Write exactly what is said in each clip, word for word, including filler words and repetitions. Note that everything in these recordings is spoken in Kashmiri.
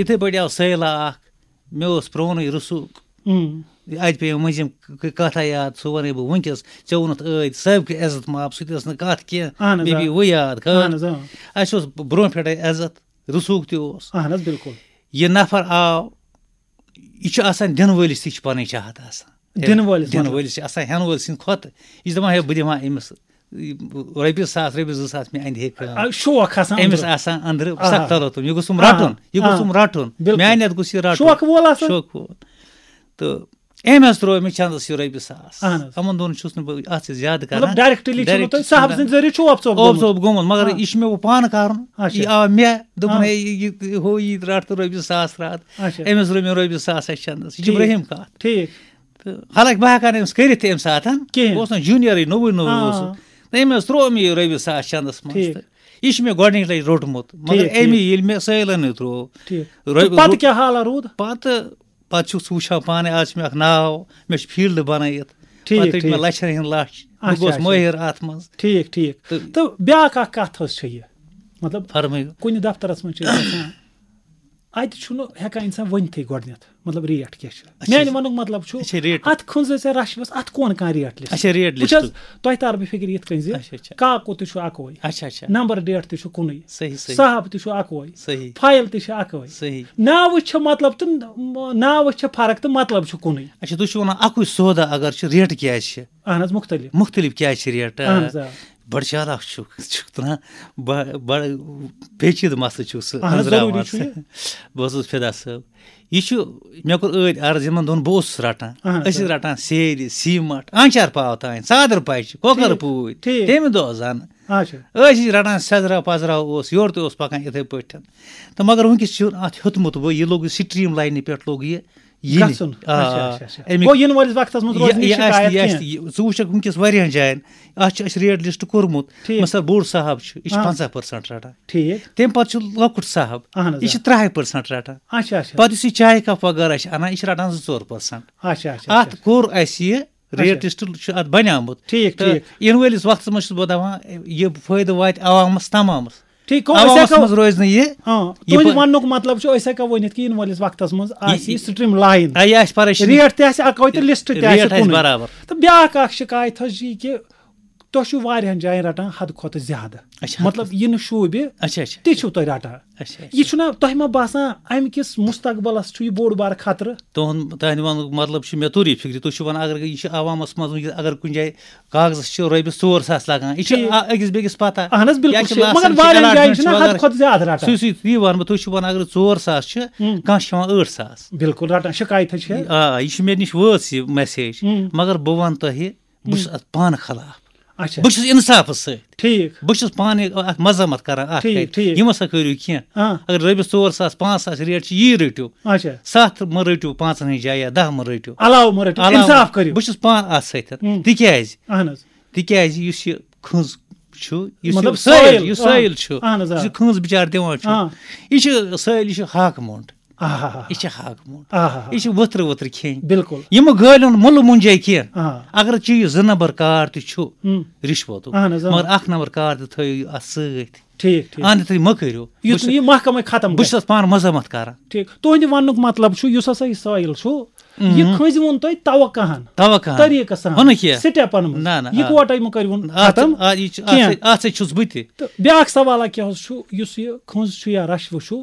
یِتھَے پٲٹھۍ آو سٲیلہ اَکھ، مےٚ اوس پرٛونُے رسوٗخ۔ اَتہِ پیٚیہِ مٔنٛزِم ک-، ک-، کَتھا یاد، سُہ وَنَے بہٕ وٕنۍکٮ۪س۔ ژےٚ ووٚنُتھ ٲدۍ صٲبکہِ عزت ماب، سُہ تہِ ٲس نہٕ کَتھ کینٛہہ، اہن حظ، مےٚ آ۔ پیٚیہِ وۄنۍ یاد، خٲر۔ اہن حظ، آ۔ اَسہِ اوس برٛونٛہہ پٮ۪ٹھَے عزت، رسوٗخ تہِ اوس۔ اہن حظ، بِلکُل۔ یہِ نفر آو، یہِ چھُ آسان دِنہٕ وٲلِس تہِ چھِ پَنٕنۍ چاہت آسان۔ دِنہٕ وٲلِس دِنہٕ مطلب؟ وٲلِس چھِ آسان، ہٮ۪نہٕ وٲلۍ سٕنٛدِ کھۄتہٕ۔ یہِ چھِ دَپان، ہے، بہٕ دِمہٕ ہا أمِس رۄپیہِ ساس، رۄپیہِ زٕ ساس، مےٚ اَندِ ہے کٲم۔ آ، شوق آسان أمِس أنٛدرٕ۔ آسان أنٛدرٕ آ۔ سخت تلوتُن، یہِ گوٚژھُم آ۔ رَٹُن، یہِ آ۔ گوٚژھُم رَٹُن۔ بِلکُل۔ میٛانہِ اَتھٕ گوٚژھ یہِ رَٹُن۔ شوقہٕ وول آسان۔ شوقہٕ وول۔ تہٕ أمۍ حظ ترٛوو مےٚ چندَس یہِ رۄپیہِ ساس۔ اہن حظ۔ یِمَن دۄن چھُس نہٕ بہٕ اَتھ سۭتۍ زیادٕ کران۔ مطلب، directly چھُنہٕ تۄہہِ صاحب سٕنٛدِ ذٔریعہٕ چھُ اوپ ژوپ اوپ گوٚمُت۔ ژوپ گوٚمُت، مگر آ۔ یہِ چھُ مےٚ وۄنۍ پانہٕ کَرُن۔ اچھا۔ یہِ آو مےٚ، دوٚپُن، آ۔ ہے، یہِ، یہِ، ہُہ، یہِ رَٹ تہٕ رۄپیہِ ساس رَٹ۔ اچھا۔ أمِس رٔٹ مےٚ رۄپیہِ ساس اَسہِ چندَس۔ یہِ چھِ ٹھیٖک۔ برٛہِم کَتھ۔ ٹھیٖک۔ تہٕ حالانکہ بہٕ ہٮ۪کہٕ ہا نہٕ أمِس کٔرِتھ تہِ اَمہِ ساتہٕ۔ کِہیٖنۍ۔ بہٕ اوسُس نا junior-ٕے، نوٚوُے نوٚوُے آ۔ اوسُس۔ تہٕ أمۍ حظ ترٛوو مےٚ یہِ رۄپیہِ ساس چندَس منٛز۔ ٹھیٖک۔ تہٕ یہِ چھُ مےٚ گۄڈٕنِچ لَٹہِ روٚٹمُت۔ مگر ٹھیٖک، أمی ٹھیٖک۔ ییٚلہِ مےٚ سٲیلَنٕے ترٛوو، ٹھیٖک۔ رۄپیہِ تہٕ پَتہٕ روٚٹ-، کیٛاہ حالہ روٗد؟ پَتہٕ، پَتہٕ چھُکھ ژٕ وٕچھان پانَے، آز چھُ مےٚ اَکھ ناو، مےٚ چھُ field بَنٲیِتھ۔ ٹھیٖک، پَتہٕ رٔٹۍ مےٚ ٹھیٖک۔ لَچھَن ہِنٛدۍ لَچھ۔ بہٕ اچھا، گوس اچھا۔ مٲہِر اَتھ منٛز۔ ٹھیٖک، ٹھیٖک۔ تہٕ تہٕ بیٛاکھ اَکھ کَتھ حظ چھےٚ یہِ، مطلب، فرمٲیِو۔ کُنہِ دفترَس منٛز چھِ أسۍ گژھان، اَتہِ چھُنہٕ ہٮ۪کان اِنسان ؤنۍتھٕے گۄڈٕنٮ۪تھ، مطلب، rate کیٛاہ چھِ۔ اچھا، میٛانہِ اچھا۔ وَنُک مطلب چھُ، اچھا، rate۔ اَتھ کھٔنٛز ژےٚ رَشوَس، اَتھ کون کانٛہہ rate list؟ اچھا، rate وٕچھ حظ، list۔ تۄہہِ تارٕ بہٕ فِکرِ یِتھ کٔنۍ زِ اچھا، اچھا۔ کاکُد تہِ چھُ اَکوے، اچھا، اچھا۔ number date تہِ چھُ کُنُے، صحیح، صحیح۔ صاحب تہِ چھُ اَکوے، صحیح۔ file تہِ چھِ اَکوے۔ صحیح۔ ناوٕ چھِ مطلب تہٕ ناوٕ چھِ فرق تہٕ مطلب چھُ کُنُے۔ اچھا، تُہۍ چھِو وَنان اَکُے سودا اگر چھُ، rate کیٛازِ چھِ؟ اہن حظ، مُختٔلِف۔ مُختٔلِف کیٛازِ چھِ rate؟ اہن حظ، آ۔ بڑٕ چالاک چھُکھ، چھُکھ تُلان۔ بڑٕ، بڑٕ پیچیدٕ مسلہٕ چھُکھ ژٕ اہن حظ، أنٛزراوان۔ ضروٗری چھُ یہِ۔ بہٕ حظ اوسُس فدا صٲب۔ یہِ چھُ، مےٚ کوٚر ٲدۍ عرض یِمن دۄن، بہٕ اوسُس رٹان۔ اہن حظ، أسۍ ٲسۍ آ۔ رٹان سیرِ، سیٖمٹ، آنچار پاو تام، ژادر پچہِ، کۄکر ٹھیٖک، پوٗتۍ۔ ٹھیٖک۔ تَمہِ دۄہ زن۔ اچھا۔ أسۍ ٲسۍ رٹان سیزرا پزرا اوس، یورٕ تہِ اوس پکان یِتھے پٲٹھۍ۔ تہٕ مگر وٕنکیٚس چھُ اتھ ہیوٚتمُت وۄنۍ، یہِ لوٚگ یہِ streamline پٮ۪ٹھ لوٚگ یہِ یِنہِ۔ گژھُن۔ آ، اچھا، اچھا، اچھا۔ اَمیُک گوٚو یِنہٕ وٲلِس وقتس منٛز یہِ، روزِ نہٕ یہِ آسہِ، شکایت یہِ آسہِ، کینٛہہ۔ یہِ، ژٕ وٕچھکھ وٕنکیٚس واریاہن جاین، اتھ چھِ اَسہِ rate list کوٚرمُت۔ ٹھیٖک۔ مثلاً بوٚڑ صاحب چھُ، یہِ چھُ آ۔ پنٛژاہ percent رٹان۔ ٹھیٖک۔ تَمہِ پتہٕ چھُ لۄکُٹ صاحب، اہن حظ، یہِ آ۔ چھُ ترٛہَے percent رٹان۔ اچھا، اچھا، پتہٕ اچھا۔ یُس یہِ چایہِ cup وغٲرہ چھِ انان، یہِ چھُ رٹان زٕ ژور percent۔ اچھا، اچھا، اتھ اچھا۔ کوٚر اَسہِ یہِ اچھا۔ rate list چھُ اتھ بنیومُت۔ ٹھیٖک، تہٕ ٹھیٖک۔ یِنہٕ وٲلِس وقتس منٛز چھُس بہٕ دپان، یہِ فٲیدٕ واتہِ عوامس تمامس۔ ٹھیٖک، گوٚو أسۍ عوامس ہٮ۪کو، منٛز روزِ نہٕ یہِ، آ، یہِ تُہنٛدِ پٲ- وننُک مطلب چھُ، أسۍ ہٮ۪کو ؤنِتھ کہِ یِنہٕ وٲلِس وقتس منٛز آسہِ یہِ، یہِ streamline۔ آ، یہِ آسہِ پریشٲنی۔ Rate تہِ آسہِ اکوے تہٕ list تہِ آسہِ rate آسہِ کُنُے۔ برابر۔ تہٕ بیٛاکھ اکھ شکایت حظ چھِ یہِ کہِ تۄہہِ چھُو واریاہن جاین رٹان حد کھۄتہٕ زیادٕ۔ اچھا، حد مطلب، کھۄتہٕ۔ یہِ نہٕ شوٗبہِ، اچھا، اچھا۔ تہِ چھُو تۄہہِ رٹان۔ اچھا، اچھا۔ یہِ چھُنہ تۄہہِ ما باسان، امہِ کِس مستقبلس چھُ یہِ بوٚڑ بارٕ خطرٕ؟ تُہُنٛد، تُہنٛدِ وننُک مطلب چھُ، مےٚ توٚر یہِ فِکرِ۔ تُہۍ چھِو ونان، اگر یہِ چھُ عوامس منٛز وٕنکیٚس، اگر کُنہِ جایہِ کاغذس چھِ رۄپیَس ژور ساس لگان، یہِ چھِ ٹھیٖک۔ آ-، أکِس بیٚکِس پتہ۔ اہن حظ، بِلکُل یا چھِ صحیح۔ لاسن مگر چھِ واریاہن جاین allotment چھِنہ چھِ حد وغٲرٕ۔ کھۄتہٕ زیادٕ رٹان۔ سُے، سُے، یی وَنہٕ بہٕ، تُہۍ چھِو وَنان، اگر ژور ساس چھِ، ہُم۔ کانٛہہ چھِ ہٮ۪وان ٲٹھ ساس۔ بِلکُل رٹان، شکایت حظ چھِ۔ آ، یہِ چھِ مےٚ نِش وٲژ یہِ message، ہُم۔ مگر بہٕ وَنہٕ تۄہہِ، بہٕ چھُس ہُم۔ اَتھ پانہٕ خلاف۔ اچھا۔ بہٕ چھُس اِنصافَس سۭتۍ۔ ٹھیٖک۔ بہٕ چھُس پانہٕ اَتھ مذمت کران اَتھ ٹھیٖک، کَتھِ۔ ٹھیٖک۔ یہِ مہ سا کٔرِو کینٛہہ۔ آ۔ اگر رۄپیَس ژور ساس، پانٛژھ ساس rate چھِ، یی رٔٹِو۔ اچھا۔ ستھ مہ رٔٹِو پانٛژَن ہٕنٛز جایہِ یا دَہ مہ رٔٹِو۔ علاوٕ مہ رٔٹِو، علاوٕ اِنصاف کٔرِو۔ بہٕ چھُس پانہٕ اَتھ سۭتۍ۔ ہُم۔ تِکیٛازِ؟ اہن حظ۔ تِکیٛازِ یُس یہِ کھٔنٛز چھُ، یُس مطلب یہِ سٲیِل، سٲیِل، یُس آ۔ سٲیِل چھُ، اہن حظ، آ۔ یُس یہِ کھٔنٛز بِچار دِوان چھُ، آ۔ یہِ چھُ سٲیِل، یہِ چھُ ہاکہٕ مۄنٛڈ۔ آہا۔ یہِ چھِ ہاکہٕ مۄنٛڈ۔ آہا۔ یہِ چھِ ؤتھرٕ ؤتھرٕ کھیٚنۍ۔ بِلکُل۔ یِمہٕ گٲلۍ ہُنٛد مُلہٕ مُنجے کینٛہہ۔ آ۔ اگر چیٖز زٕ نمبر کار تہِ چھُ، ہُم۔ رِشوتُک، اہن حظ، آ۔ مگر اکھ نمبر کار تہِ تھٲیِو اَتھ سۭتۍ۔ ٹھیٖک، ٹھیٖک۔ اَنٛد تھٲیِو مہ کٔرِو۔ یُتھ بہٕ چھُس، نہٕ یہِ محکمَے ختم بہٕ چھُس گژھِ۔ اَتھ پانہٕ مذمت کران۔ ٹھیٖک۔ تُہٕنٛدِ وننُک مطلب چھُ، یُس ہسا یہِ سٲیِل چھُ، یہِ مہم۔ کھٔنٛزِ ووٚن تۄہہِ توقعہن۔ توقعہن۔ طریٖقس سان۔ ہُنہٕ کینٛہہ۔ سِٹیپن منٛز۔ نہ، نہ، آ۔ یِکوٹے مہٕ کٔرِوُن آ، ختم آ، یہِ چھُ، اَتھ کینٛہہ۔ سۭتۍ، اَتھ سۭتۍ چھُس بہٕ تہِ۔ تہٕ بیٛاکھ سوالہ کیٛاہ حظ چھُ، یُس یہِ کھٔنٛز چھُ یا رشوٕ چھُ،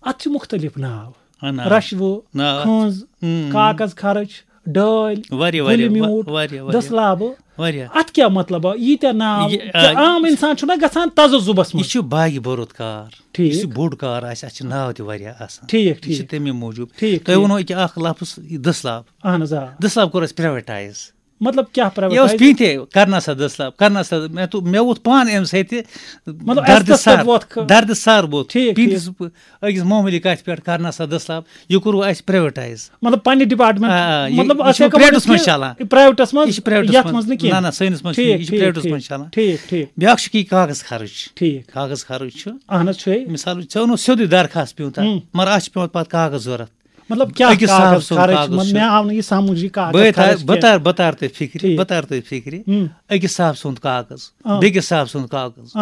اَتھ چھِ مُختٔلِف ناو۔ آ، ناو۔ رشوٕ، ناو۔ کھٔنٛز، مہم۔ کاغذ خرٕچ، ڈٲلۍ، واریاہ، واریاہ، گُلہِ میوٗٹھ، واریاہ، واریاہ۔ دٔسلابہٕ۔ واریاہ۔ اَتھ کیٛاہ مطلب؟ ییٖتیٛاہ ناو، یہِ، کیٛاہ آ، عام اِنسان چھُنہ گژھان تذبذبس یہِ منٛز؟ چھُ باگہِ بوٚرُت کار۔ ٹھیٖک۔ یُس یہِ بوٚڑ کار آسہِ، اَتھ چھِ ناو تہِ واریاہ آسان۔ ٹھیٖک، یہِ چھِ ٹھیٖک۔ تَمے موٗجوٗب۔ ٹھیٖک، تۄہہِ ٹھیٖک۔ ووٚنوُ أکیٛاہ اَکھ لفظ، یہِ دٔسلاب۔ اہن حظ، آ۔ دٔسلاب کوٚر اَسہِ privatise۔ مطلب کیٛاہ یہِ اوس privatise؟ پیٖنتہِ، کرنا سا دٔسلاب، کرنا سا، مےٚ تو-، مےٚ ووٚتھ پانہٕ اَمہِ سۭتۍ تہِ مطلب دردِ عزتس سر، پٮ۪ٹھ ووٚتھ کھٕ-، دردِ سر ووٚتھ۔ ٹھیٖک، پیٖنتِس ٹھیٖک۔ أکِس معموٗلی کَتھِ پٮ۪ٹھ کرنا سا دٔسلاب، یہِ کوٚروُ اَسہِ privatise۔ مطلب پننہِ department، آ، آ، یہِ، مطلب یہِ اَتھ چھُ ہٮ۪کو ؤنِتھ privateس منٛز کہِ چلان۔ یہِ privateس منٛز، یہِ چھُ privateس یَتھ منٛز۔ منٛز نہٕ نہ، کینٛہہ۔ نہ، سٲنِس منٛز چھُنہٕ، ٹھیٖک، یہِ چھُ ٹھیٖک، privateس ٹھیٖک، منٛز چلان۔ ٹھیٖک، ٹھیٖک۔ بیٛاکھ چھُ کہِ یہِ کاغذ خرٕچ۔ ٹھیٖک۔ کاغذ خرٕچ چھُ۔ اہن حظ، چھُ۔ مثال، ژےٚ ووٚنُتھ سیوٚدُے درخواست پیوٗنتہ، ہُم۔ مگر اَتھ چھُ پیوان پتہٕ کاغذ ضوٚرتھ۔ مطلب کیٛاہ أکِس صاحب کاغذ سُنٛد خرٕچ؟ کاغذ مطلب چھُ۔ مےٚ آو نہٕ یہِ سمجھ، یہِ کاغذ بہٕ تہِ، خرٕچ بہٕ کیٛاہ؟ تر، بہٕ تر تۄہہِ فِکرِ، ٹھیٖک۔ بہٕ تر تۄہہِ فِکرِ۔ ہُم۔ أکِس صاحب سُنٛد کاغذ، آ۔ بیٚکِس صاحب سُنٛد کاغذ، آ۔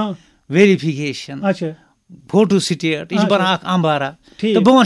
verification، اچھا۔ فوٹو سٹیٹ، یہِ چھُ اچھا۔ بنان اکھ امبارا۔ ٹھیٖک۔ تہٕ بہٕ وَنہٕ